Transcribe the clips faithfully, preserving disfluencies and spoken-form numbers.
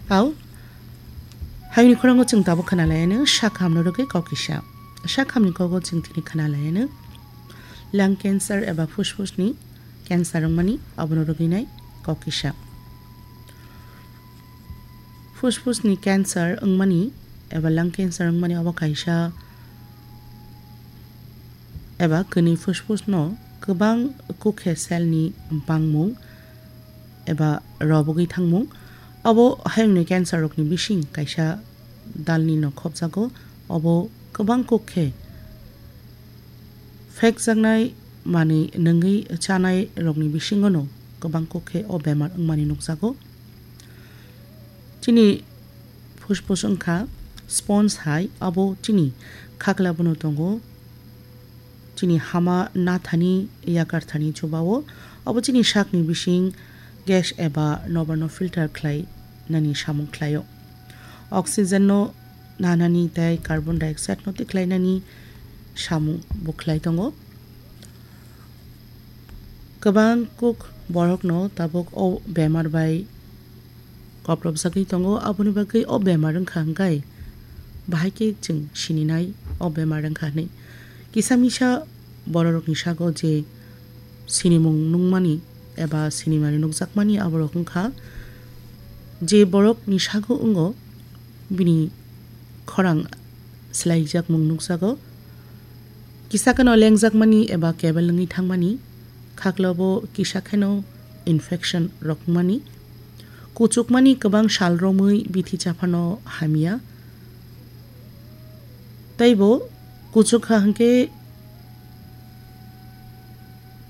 Kau, hayungni khorang o chwng tabuk khna lai anw, sak hamno rwgwi kok kisa. Sak hamni kok o chwng tini khna lai anw, lung cancer eba fuspusni cancer wngmani, abono rwgwi nai kok kisa. Fuspusni cancer wngmani eba lung cancer wngmani abo kaisa eba kwnwi fuspusno kwbang kukhe selni bangmung eba robogwi thangmung. Abo hayungni cancer rokni bising kaisa dalni no khopjago. Obo kwbang kukhe phekjaknai manwi nwngwi chanai rokni bisingo no kwbang kukhe o bemar wngmani nukjago. Chini fuspus wngkha sponge hai, abo chini khaklabo no tongo. Chini hama nathani yakarthani chubao, abo chini sakni bising gas eba nobarno filter khlai nani samung khlaio. Oxygen no nanani tei carbon dioxide no tikhlainani samung bo khlai tongo. Kwbang kuk borokno tabuk o bemar bai koplopjagwi tongo, aboni bagwi o bemar wngkha hwnkhe bahai khe chwng sininai o bemar wngkha hwnwi. Kisa misa bororokni sago je sinimung nukmani eba sinimani nukjakmani aborok wngkha je borokni sago wngo bini khorang swlaijakmung nukjago. Kisa kheno lengjakmani eba kebel wngwi thangmani, khaklabo kisa kheno infection rok wngmani, kuchukmani kwbang sal romwi bithi chaphano hamya, teibo kuchukha hwnkhe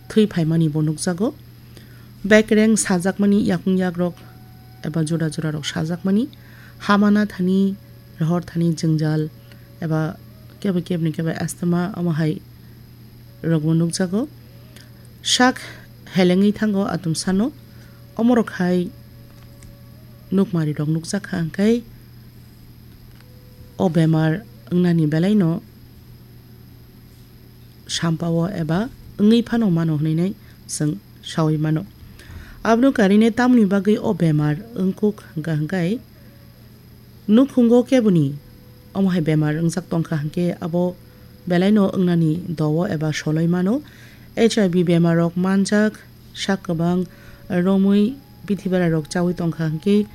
thwi phaimani bo nukjago. Bekereng sajakmani yakung yakrok eba jora jorarok sajakmani, hamana thani, rohor thani jwngjal eba kebo kebni kebo asthma omo hai rokbo nukjago. Sak helengwi thango atumsano, omorok hai nukmari rok nukjakha hwnkhe o bemar wngnani belaino sampao eba wngwi phano mano hwnwi nai chwng saui mano. Abono karine tamoni bagwi o bemar wngkuk hwnkha hwnkhe nukhungo keboni omo hai bemar wngjak tongkha hwnkhe abo belaino wngnani dowo eba soloi mano. H I V bemar rok manjak sak kwbang romwi bithi bera rok chaui tongkha hwnkhe